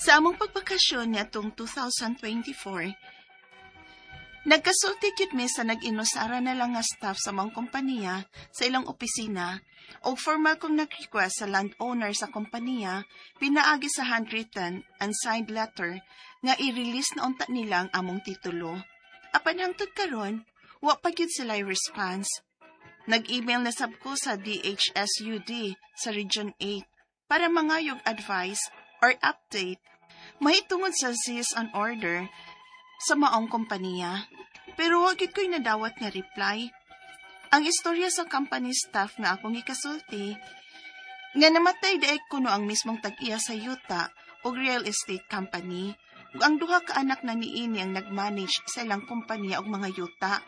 Sa among pagbakasyon niadtong 2024, nagkasulti gyud mi sa nag-inusara na lang nga staff sa among kompanya sa ilang opisina ug formal kong nag-request sa landowner sa kompanya pinaagi sa handwritten and signed letter nga i-release na unta nila ang among titulo. Apan hangtod karon, wa pa gyud sila response. Nag-email na sab ko sa DHSUD sa Region 8 para mangayog advice or update mahitungod sa cease and order sa maong kompanya. Pero wa gyud ko'y nadawat nga reply. Ang istorya sa company staff nga akong gikasulti, nga namatay diay kuno ang mismong tag-iya sa yuta og real estate company ug ang duha ka anak na niini ang nag-manage sa ilang kompanya og mga yuta.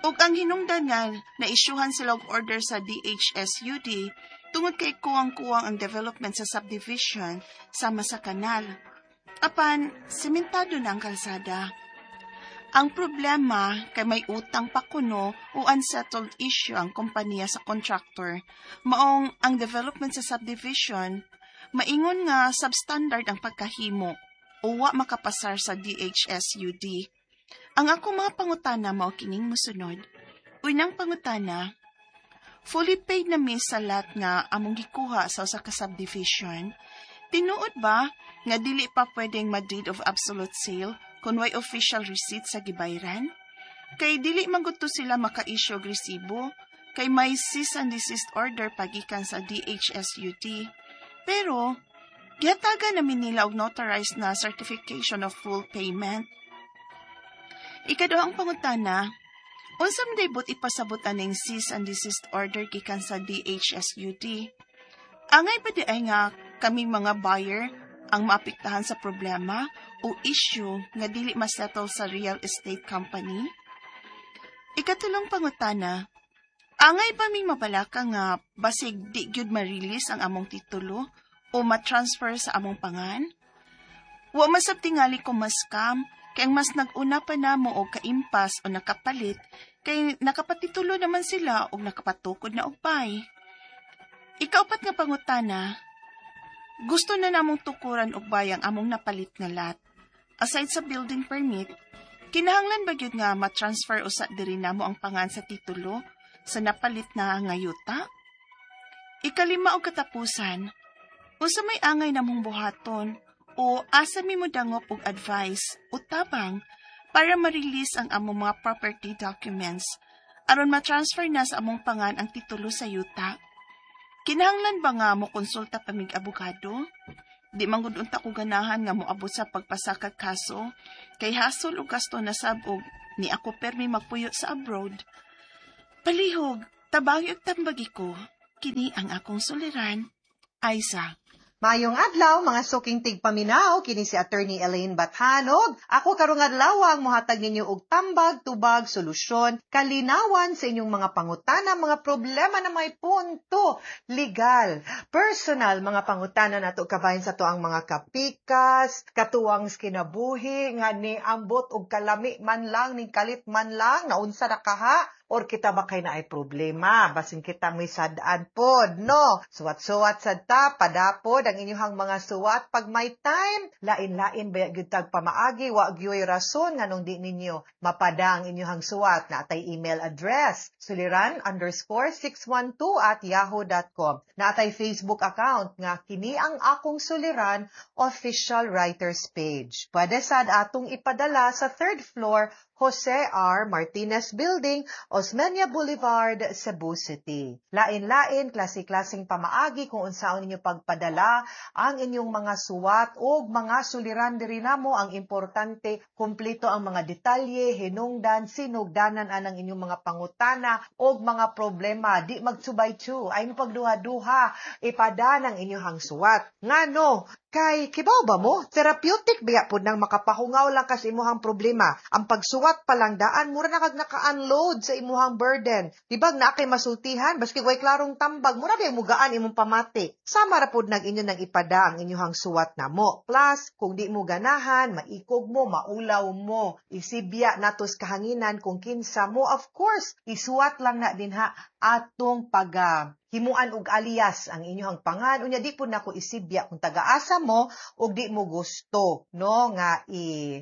Ug ang hinungdan nga naisyuhan sila og order sa DHSUD tungod kay kuwang-kuwang ang development sa subdivision sama sa kanal. Apan, sementado na ang kalsada. Ang problema kay may utang pa kuno o unsettled issue ang kompanya sa contractor. Maong ang development sa subdivision, maingon nga substandard ang pagkahimo o wa makapasar sa DHSUD. Ang akong mga pangutana mao kining mosunod. Unang pangutana, fully paid na mi sa lot nga among gikuha sa usa ka subdivision. Tinuod ba nga dili pa pwedeng ma-deed of absolute sale kung way official receipt sa gibayran? Kay dili man gud to sila maka-issue og resibo kay may cease and desist order pagikan sa DHSUD. Pero gihatagan namin nila og notarized na certification of full payment. Ikaduhang pangutana, unsa man day buot ipasabot aning cease and desist order gikan sa DHSUD? Angay ba diay nga kaming mga buyer ang maapektahan sa problema o issue nga dili masettle sa real estate company? Ikatulong pangutana, angay ba ming mabalaka nga basig di gyud ma-release ang among titulo o ma-transfer sa among pangan? Wa man sab tingali ko ma-scam kay ang mas nag-una pa namo og kaimpas o nakapalit kay nakapatitulo naman sila og nakapatukod na og bay. Ikaupat nga pangutana, gusto na namong tukuran og bay ang among napalit nga lot. Aside sa building permit, kinahanglan ba gyud nga ma-transfer usa diri namo ang pangan sa titulo sa napalit na nga yuta? Ikalima og katapusan, unsa may angay namong buhaton o asa mi modangop og advice o tabang para ma-release ang among mga property documents aron ma-transfer na sa among pangan ang titulo sa yuta? Kinahanglan ba nga mo konsulta pa mig abogado? Di man gud unta ko ganahan nga moabot sa pagpasakag kaso kay hasol og gasto na sab og ni ako permi magpuyo sa abroad. Palihog, tabangi og tambagi ko. Kini ang akong suliran. Aiza. Maayong adlaw, mga suking tigpaminaw, kini si Attorney Elaine Bathanog. Ako karong adlaw ang mohatag ninyo og tambag, tubag, solusyon, kalinawan sa inyong mga pangutana, mga problema na may punto legal, personal, mga pangutana nato kabahin sa tuang mga kapikas, katuwang kinabuhi, nga ni ambot og kalami man lang, ning kalit man lang, naunsa na kaha, or kita ba kay naay problema, basin kita may sad-an pod, no? Suwat-suwat sad ta, padapod ang inyong mga suwat pag may time, lain-lain ba gyud tag pamaagi, wa gyoy rason nganong di ninyo mapada ang inyong suwat. Naatay email address, suliran_612@yahoo.com. Naatay Facebook account nga kini ang akong suliran official writers page. Pwede sad atong ipadala sa third floor, Jose R. Martinez Building, Osmeña Boulevard, Cebu City. Lain-lain, klase-klaseng pamaagi kung unsaon ninyo pagpadala ang inyong mga suwat o mga suliran diri namo. Ang importante, kumpleto ang mga detalye, hinungdan, sinugdanan anang inyong mga pangutana o mga problema. Di magsubay-chu, ay mo pagduha-duha, ipada ng inyong suwat. Ngano, kay kibaw ba mo, therapeutic biya pud nang makapahungaw lang kas imuhang problema. Ang pagsuwat pa lang daan, mura na kag naka-unload sa imuhang burden. Di ba naa kay masultihan, baski way klarong tambag, mura ba mugaan imong pamati. Sama ra pud nag inyo nang ipada ang inyuhang suwat namo. Plus, kung di mo ganahan, maikog mo, maulaw mo, isibya natos kahanginan kung kinsa mo. Of course, isuwat lang na dinha Atong pag himuan og alias ang inyong pangan, unya di pud nako isibya kung taga-asa mo ug di mo gusto, no, nga i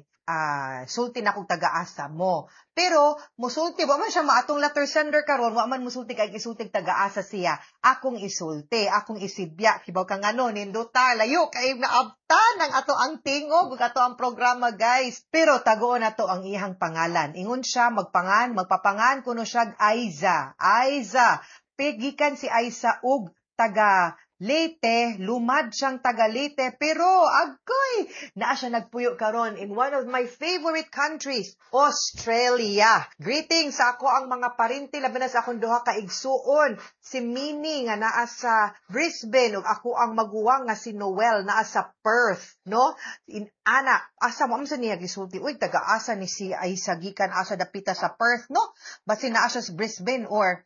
sulti na kung taga-asa mo. Pero musulti wa man siya maatong letter sender karon, wa man musulti kay isulti taga-asa siya. Akong isulti, akong isibya, kibaw ka ngano, nindota layo kay naabtan ang ato ang tingog ug ato ang programa, guys. Pero tagoon nato ang iyang pangalan. Ingon siya magpapangan kuno siya Aiza. Aiza. Pigikan si Aiza og taga Leyte, lumad siyang taga Leyte, pero agoy, naa siya nagpuyo karon in one of my favorite countries, Australia. Greetings sa ako ang mga parinti, labi na sa akong duha ka igsuon, si Minnie nga naa sa Brisbane ug ako ang maguwang nga si Noel naa sa Perth, no? In ana, asa mo sa niya gisulti, uy, taga-asa ni si Aiza, gikan asa dapita sa Perth, no? Basin naa siya sa Brisbane or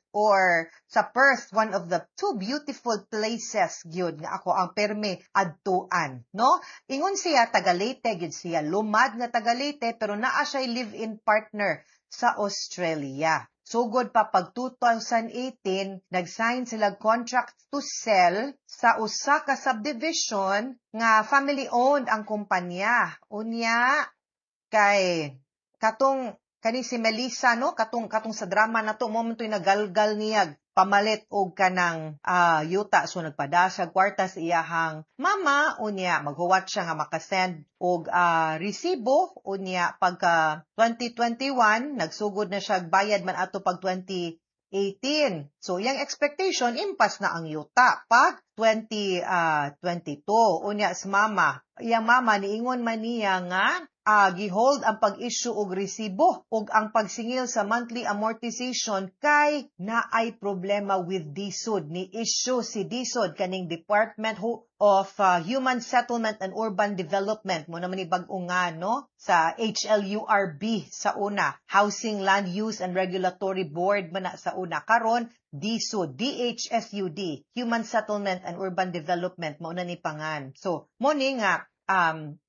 sa Perth, one of the two beautiful places gyud nga ako ang perme adtuan, no? Ingon siya taga Leyte gyud siya, lumad nga taga Leyte, pero naa siya live-in partner sa Australia. Sugod pa pag 2018, nag-sign sila contract to sell sa usa ka subdivision nga family-owned ang kumpanya. Unya kay katong kani si Melissa, no, katong sa drama na to mo man to'y nagalgal niya pamalit og kanang yuta. So nagpada siya kwarta sa iyahang mama, unya maghuwat siya nga makasend og resibo. Unya pagka 2021 nagsugod na siya bayad man ato pag 2018. So iyang expectation, impas na ang yuta pag 2022. Unya sa mama, iyang mama niingon man niya nga gihold ang pag-issue og resibo ug ang pagsingil sa monthly amortization kay naay problema with DHSUD. Ni issue si DHSUD, kaning Department of Human Settlement and Urban Development mo naman ni bag-o nga, no, sa HLURB sa una, Housing Land Use and Regulatory Board man na sa una, karon DHSUD, DHSUD, Human Settlement and Urban Development mao na ni pangan. So mo ni nga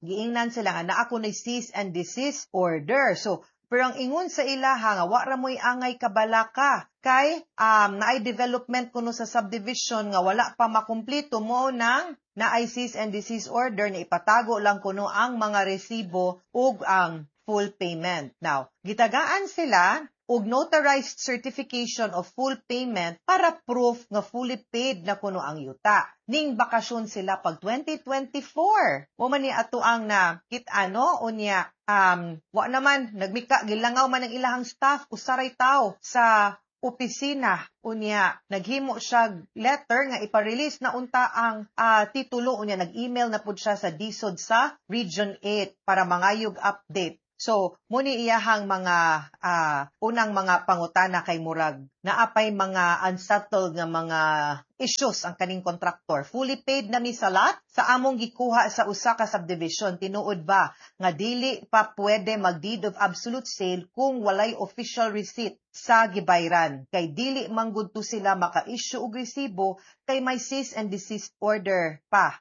giingnan sila nga naa kuno'y cease and desist order. So pero ang ingon sa ilaha nga wa ra mo'y angay kabalaka kay naay development kuno sa subdivision nga wala pa makumpleto, mo nang naay cease and desist order na ipatago lang kuno ang mga resibo ug ang full payment. Now, gitagaan sila og notarized certification of full payment para proof nga fully paid na kuno ang yuta. Ning bakasyon sila pag 2024. Mo man ni ato ang na kit ano. Unya wa naman nagmika, gilangaw man ang ilahang staff, usaray tawo sa opisina. Unya naghimo siya letter nga ipa-release na unta ang titulo. Unya nag-email na pud siya sa DHSUD sa Region 8 para mangayog update. So, muni iyahang mga unang mga pangutana kay murag naapay mga unsettled nga mga issues ang kaning contractor. Fully paid na mi sa lot sa among gikuha sa usa ka subdivision. Tinuod ba nga dili pa pwede mag deed of absolute sale kung walay official receipt sa gibayran? Kay dili man gud to sila maka-issue og resibo kay may cease and desist order pa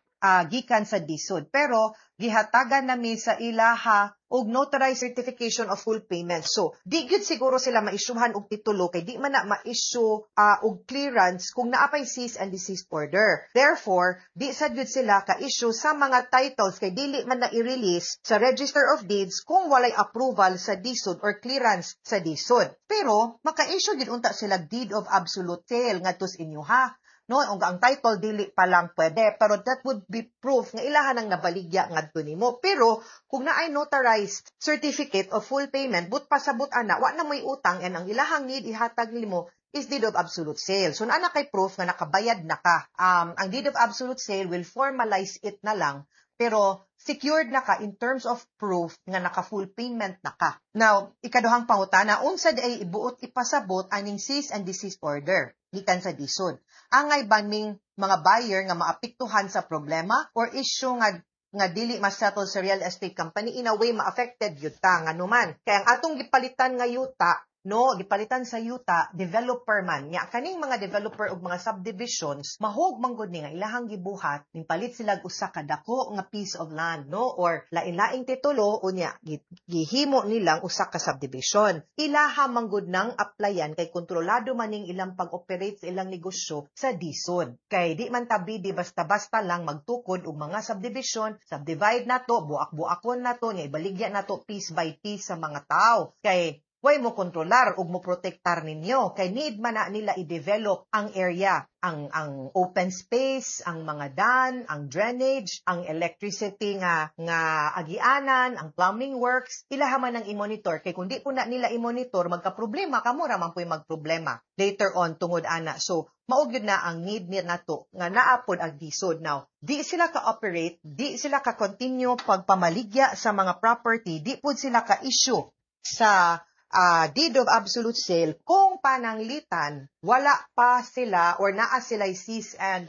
gikan sa DHSUD. Pero gihatagan nami sa ilaha og notarized certification of full payment. So, di gyud siguro sila maisyuhan og titulo kay di man na ma-issue og clearance kung naa pay cease and desist order. Therefore, di sad gyud sila ka-issue sa mga titles kay dili man na i-release sa Register of Deeds kung walay approval sa DHSUD or clearance sa DHSUD. Pero maka-issue gyud unta sila deed of absolute sale ngadto sa inyo ha, no, ug ang title dili pa lang pwede, pero that would be proof nga ilahan ang nabaligya ngadto nimo. Pero kung naay notarized certificate of full payment, but pasabot ana wa na moy utang and ang ilahang need ihatag nimo is deed of absolute sale. So naa na kay proof nga nakabayad na ka. Ang deed of absolute sale will formalize it na lang, pero secured na ka in terms of proof nga naka full payment na ka. Now, ikaduhang pangutana, unsa di ay ibuot ipasabot aning cease and desist order gikan sa DHSUD? Angay ba ning mga buyer nga maapektuhan sa problema or issue nga dili ma-settle sa real estate company? In a way, ma-affected yuta, nga numan. Kaya ang atong gipalitan nga yuta no, gipalitan sa yuta, developer man. Nya kaning mga developer og mga subdivisions, mahog man gud ni nga ilahang gibuhat, ning palit sila usa ka dako nga piece of land, no, or lain-laing titulo, unya gihimo nilang usa ka subdivision. Ilaha man gud nang applyan kay kontrolado man ning ilang pag-operate sa ilang negosyo sa DHSUD. Kay di man tabi di basta-basta lang magtukod og mga subdivision, subdivide nato, buak-buakon nato, nya ibaligya nato piece by piece sa mga tao. Kay way mo kontrolar ug mo protektar ninyo kay need man na nila i-develop ang area, ang open space, ang mga dan, ang drainage, ang electricity nga agianan, ang plumbing works. Ilaha man ang i-monitor kay kung di po na nila i-monitor, magka-problema kamo ra man pu'y magproblema later on tungod ana. So mao gyud na ang need ni nato nga naa pod ang DHSUD. Now, di sila ka-operate, di sila ka-continue pagpamaligya sa mga property, di pud sila ka-issue sa deed of absolute sale kung pananglitan wala pa sila or naa sila cease and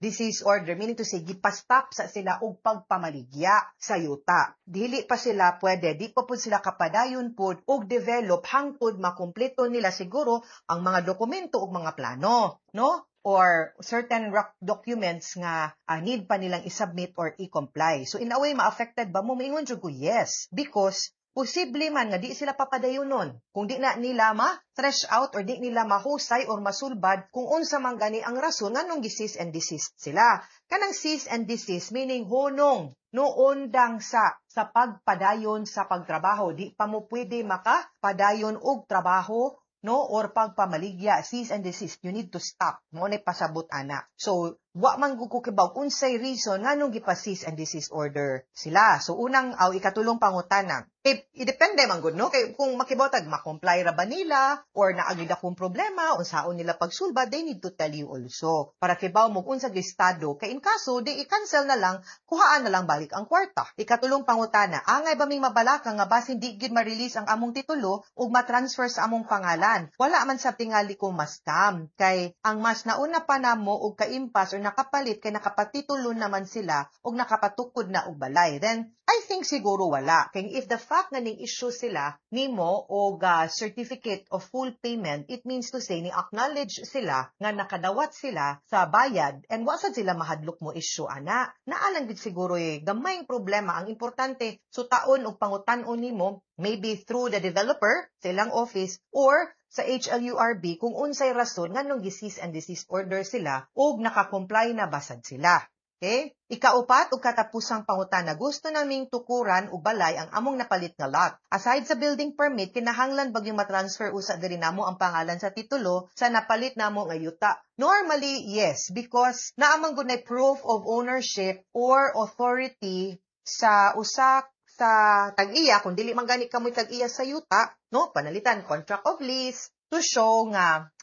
desist order, meaning to say gipastop sa sila og pagpamaligya sa yuta. Dili pa sila pwede, di pa pud sila kapadayon pud og develop hangtod makumpleto nila siguro ang mga dokumento ug mga plano, no, or certain rock documents nga need pa nilang isubmit or i-comply. So in a way, ma-affected ba mo? Maingon jud ko yes, because posible man nga di sila papadayonon kung di na nila ma-thresh out or di nila mahusay or masulbad kung unsa man gani ang rason nganong gi-cease and desist sila. Kanang cease and desist meaning hunong, no, undang sa pagpadayon sa pagtrabaho. Di pa mo pwede makapadayon og trabaho, no, or pagpamaligya. Cease and desist, you need to stop mo na pasabot ana. So wa man gud ko kibaw unsay reason nganong gipa-cease and desist order sila. So unang aw ikatulong pangutana kay idepende man gud, no, kay kung makibaw tag ma-comply ra ba nila or naa gyud akong problema, unsaon nila pagsulbad, they need to tell you also para kibaw mo unsa gyud estado, kay in kaso di i-cancel na lang, kuhaan na lang balik ang kwarta. Ikatulong pangutana: angay ba ming mabalaka nga basin di gyud ma-release ang among titulo ug ma-transfer sa among pangalan? Wala man sa tingali ko ma-scam kay ang mas nauna pa namo og kaimpas or nakapalit kay nakapatitulo naman sila ug nakapatukod na og balay. Then I think siguro wala. Kay if the fact nga ning issue sila nimo og certificate of full payment, it means to say ni acknowledge sila nga nakadawat sila sa bayad and wa sad sila mahadlok mo issue ana. Naa lang gid siguro eh gamayng problema. Ang importante, sutaon og pangutan-on nimo maybe through the developer sa ilang office or sa HLURB kung unsay rason nganong gi-cease and desist order sila ug naka-comply na basad sila. Okay? Ikaupat ug katapusang pangutana: gusto naming tukuran og balay ang among napalit nga lot. Aside sa building permit, kinahanglan ba yung matransfer usa diri namo ang pangalan sa titulo sa napalit namo nga yuta? Normally, yes, because naa man gud proof of ownership or authority sa usa sa tag-iya. Kung dili man gani kamoy tag-iya sa yuta, no, panalitan contract of lease to show nga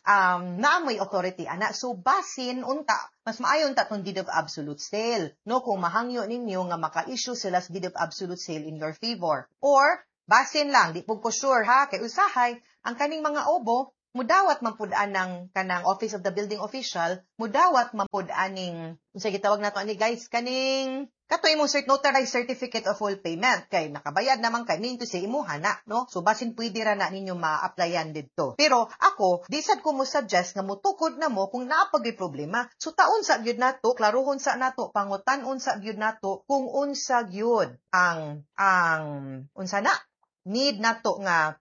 naa mo'y authority ana. So basin unta mas maayo unta tong deed of absolute sale, no, kung mahangyo ninyo nga maka-issue sila sa deed of absolute sale in your favor. Or basin lang, di pud ko sure ha, kay usahay ang kaning mga obo mudawat man pud anang kanang Office of the Building Official, mudawat man pud aning unsa gitawag nato ani, guys, kaning kato imong notarized certificate of full payment kay nakabayad naman kay, meaning to say imuha na, no? So basin pwede ra na ninyo ma-applyan didto. Pero ako, di sad ko mo suggest nga motukod na mo kung naa pa gyud problema. So taon sa gyud nato, klarohon sa nato, pangutan-on sa gyud nato kung unsa gyud ang unsa na need nato nga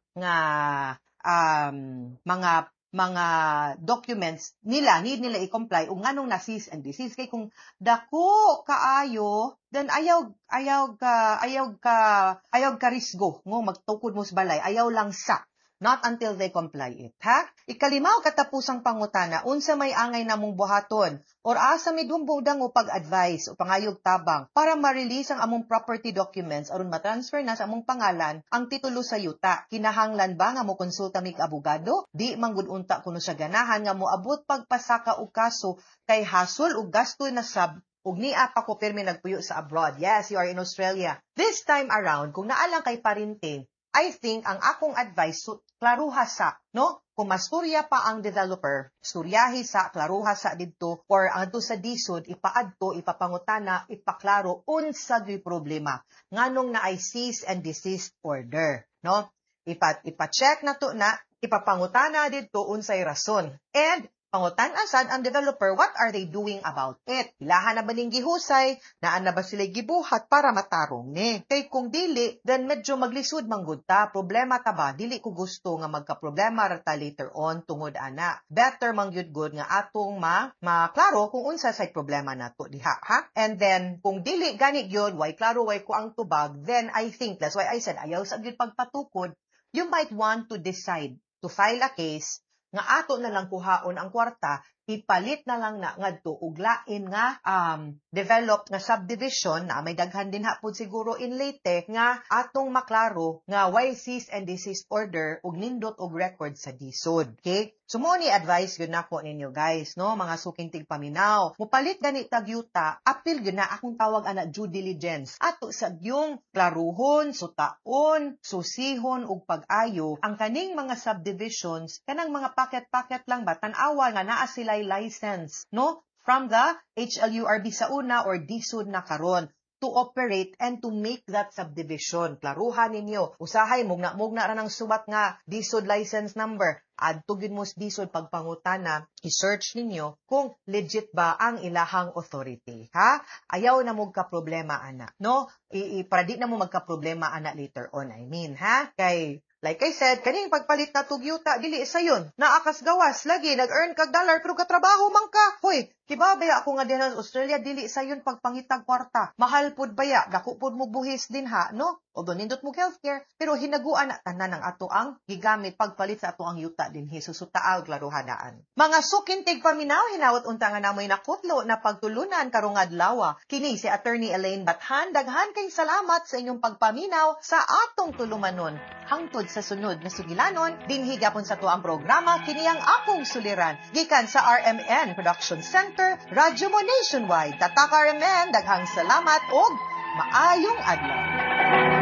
mga documents nila need nila i-comply ug nganong na cease and desist. Kay kung dako kaayo, then ayaw ka risgo ngo magtukod mo sa balay. Ayaw lang sa, not until they comply it, ha? Ikalima o katapusang pangutana: unsa may angay namong buhaton or asa mi dumbudang o pag-advise o pangayog tabang para ma-release ang among property documents aron ma-transfer na sa among pangalan ang titulo sa yuta? Kinahanglan ba nga mo konsulta mig abogado? Di man gud unta kuno sa ganahan nga moabot pagpasaka og kaso kay hasol og gasto na sab ug nia pa ko pirmi nagpuyo sa abroad. Yes, you are in Australia. This time around, kung naa lang kay parente, I think ang akong advice, so, klaruha sa, no? Kung masturya pa ang developer, storyahi sa, klaruha sa didto, or adto sa DHSUD, ipaadto, ipapangutana, ipaklaro, unsa gyud problema. Nganong naay cease and desist order, no? Ipa-check na to na, ipapangutana didto unsay rason. And pangutan-a sad ang developer, what are they doing about it? Ilahan na ba ning gihusay, naa na ba sila gibuhat para matarong ni? Kay kung dili, then medyo maglisod manggod ta, problema ta ba? Dili ko gusto nga magka-problema ra ta later on tungod ana. Better man gyud gud nga atong ma maklaro kung unsa say problema nato diha, ha? And then kung dili gani gyud, way klaro, way ko ang tubag, then I think that's why I said ayaw sa gyud pagpatukod. You might want to decide to file a case nga ato na lang kuhaon ang kwarta, ipalit na lang na ngadto og lain nga developed nga subdivision na may daghan din hapon siguro in Leyte nga atong maklaro nga way cease and desist order ug nindot og record sa DHSUD. Okay? So mo ni advice gyud nako ninyo, guys, no, mga suking tigpaminaw. Mupalit gani tag yuta, apil gyud na akong tawag ana due diligence. Ato sa gyung klaruhon, sutaon, susihon ug pag-ayo ang kaning mga subdivisions, kanang mga packet-packet lang ba, tan-awa nga naa sila license, no? From the HLURB sa una or DHSUD na karon to operate and to make that subdivision. Klaruhan ninyo. Usahay, mugna-mugna ra ng subat nga DHSUD license number. Adto gyud mo sa DHSUD pagpangutana, i-search ninyo kung legit ba ang ilahang authority. Ha? Ayaw na mo problema ana. No? Para di na mo magka-problema ana later on, I mean, ha? Kay like I said, kaning pagpalit na yuta, dili sayon. Naakas gawas, lagi, nag-earn kag dollar, pero katrabaho man ka. Hoy, kiba baya ako nga din sa Australia, dili sayon pagpangitag kwarta. Mahal pud baya, dako pud mo buhis din ha, no? Although nindot mo healthcare, pero hinaguan na tanan ang ato ang gigamit pagpalit sa ato ang yuta din susutaa og klaruhanaan. Mga suking tigpaminaw, hinawat unta nga namoy nakutlo na pagtulunan karong adlaw. Kini si Attorney Elaine Bathan, daghan kay salamat sa inyong pagpaminaw sa atong tulumanon. Hangtod sa sunod na sugilanon, dinhi gapon sa tuang programa kini ang akong suliran. Gikan sa RMN Production Center, Radyo Mo Nationwide. Tatak RMN, daghang salamat og maayong adlaw.